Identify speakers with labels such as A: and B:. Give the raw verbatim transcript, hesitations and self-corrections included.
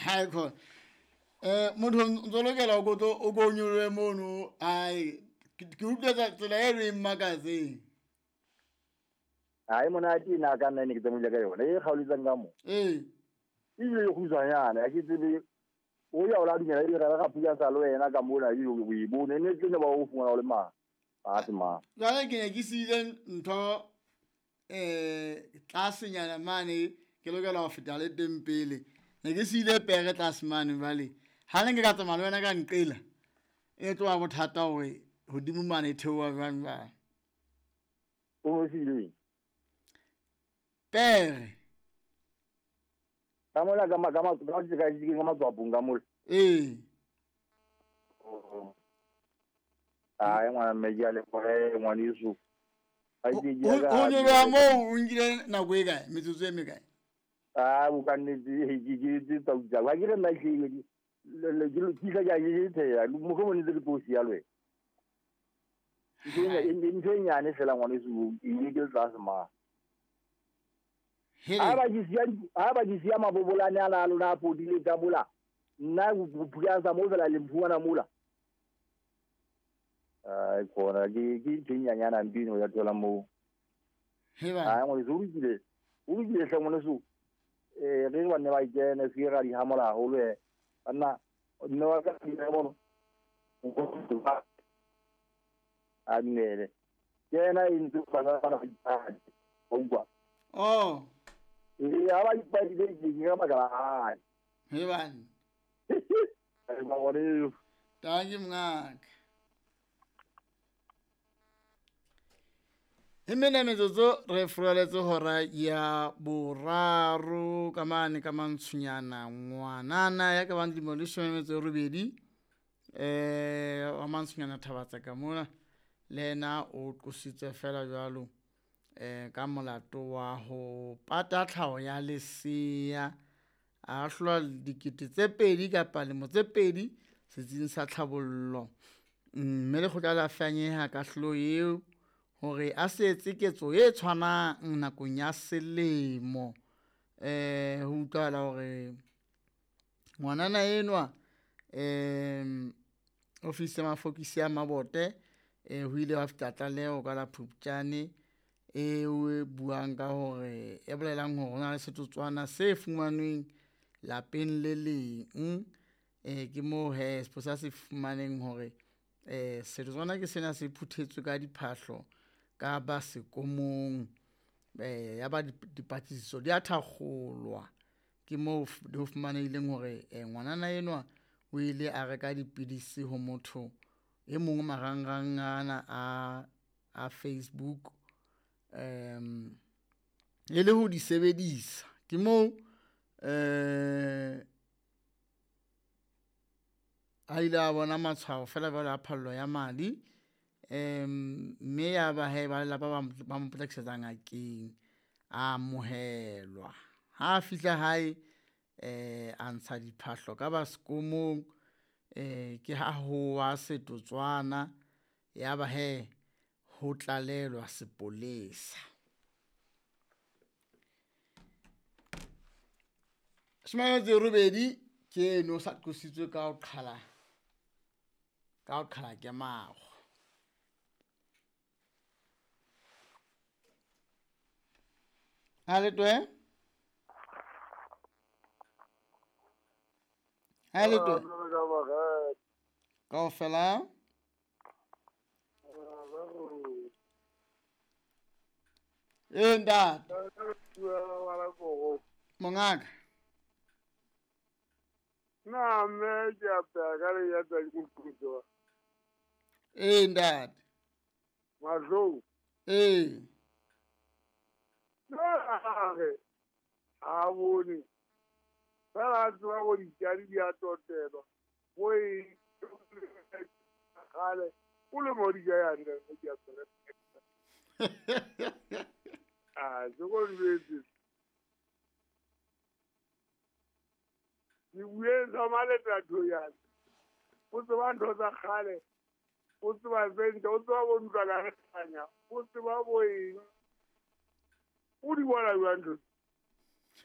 A: Hai khona. Eh motho ntso lokela o go o go nyolohe mono ai ke utlwa tsela e re makatseng.
B: Ai monate na ka nna ne ke tsamaile ka yona e kgaoletsang ka mo.
A: Eh.
B: E ile go tswanyana ya ke tsebe o ya o la dumela e re ga pula sa le wena ka mola e o e bone ne ke ne ba o fumana o le ma. A se ma.
A: Jwale ke ne ke siile ntho eh tlasenyana mane ke lokela ho feta le teng pele. Ne ke siile pere tlase mane jwale. Ha ne ke ka tsamaya le wena ka nqela e tloha bothata hore hodimo mane e theoha jwang jwang.
B: O siile
A: pere
B: ka mola ka ma ka ma ka ka ka matswapong ka mola.
A: Eh.
B: Ai ngwana mme ke a le gore ngwaneso.
A: Ho nyoloha moo o nkile nako e kae metsotso e mekae?
B: Ah o ka nnete ke ke tse tsa utsa. Wa ke re nna ke le ke ke ka ke the mo go nnete ke tlo sia lwe. Ke ene ntho e nyane fela ngwaneso e ke tlase ma. Ha ba ke sia ha ba ke sia mabobolane a la lona a podile ka mola. Nna go sa mo fela le mfuana mola. Ai khona ke ke ntho e nyanyana mpino ya thola mo.
A: Heba.
B: Ai ngwaneso o lokile. O lokile hle ngwaneso. Eh re ba ne ba ikene se ra di hamola haholo e. Nna nna wa ka di bona. A dumele. Ke ena e ntse ba ba ba ba utlwa.
A: Oh.
B: E ha ba ipadile ke ka baka la hae.
A: Heba.
B: Ai ba bone.
A: Thank you mngaka. E mene metsotso re furaletse hora ya boraro ka mane ka mantshunyana ngwanana ya ka bang dilemo di leshome le metso e robedi eh wa mantshunyana Thabatsa ka mona le yena o qositswe fela jwalo eh ka molato wa ho pata tlhaho ya lesea a ahlolwa dikete tse pedi kapa lemo tse pedi setsing sa tlhabollo mme lekgotla la fanyeha kahlolo eo hore a se etse ketso e tshwanang nakong ya selemo. Eh ho utlwahala hore ngwanana enwa em ofisi ya mafokisi ya Mabote eh ho ile wa fihla tlaleho ka la Phupjane eo e buang ka hore e bolelang hore ho na le setotswana se fumanweng lapeng le leng. Eh ke moo he sepolesa se fumaneng hore eh setotswana ke sena se phuthetswe ka diphahlo ka ba sekomong eh ya ba dipatlisiso di a thakgolwa. Ke moo ho fumanehileng hore ngwanana enwa o ile a reka dipidisi ho motho e mong marangrang ana a a Facebook em e le ho di sebedisa. Ke moo eh a ile a bona matshwao fela jwalo a phallo ya madi em mme ya ba he ba lelapa ba mo potlakisetsa ngakeng a amohelwa. Ha a fihla hae eh a ntsha diphahlo ka ba sekomong eh ke ha ho wa setotswana ya ba he ho tlalelwa sepolesa. Shome tse robedi ke eno sa qositswe ka ho qhala ka ho qhala ke mago. Ha le twe? Ha le twe? Kaofela? Eh ntate. Mongaka.
C: Na mme ke a pheha ka le ya tsa dikutu.
A: Eh ntate.
C: Mahlong.
A: Eh.
C: Na re a bone. Fela a tseba go ditjadi di a totelwa. Mo e kgale o le mo di ja ya nna ke a tsela. Ah, se go jwetse. Ke bueng sa maletla ya. O tseba ntho tsa kgale. O tseba tse o tseba bo ntlwana re hlanya. O tseba bo eng. O di bona jwang ntho?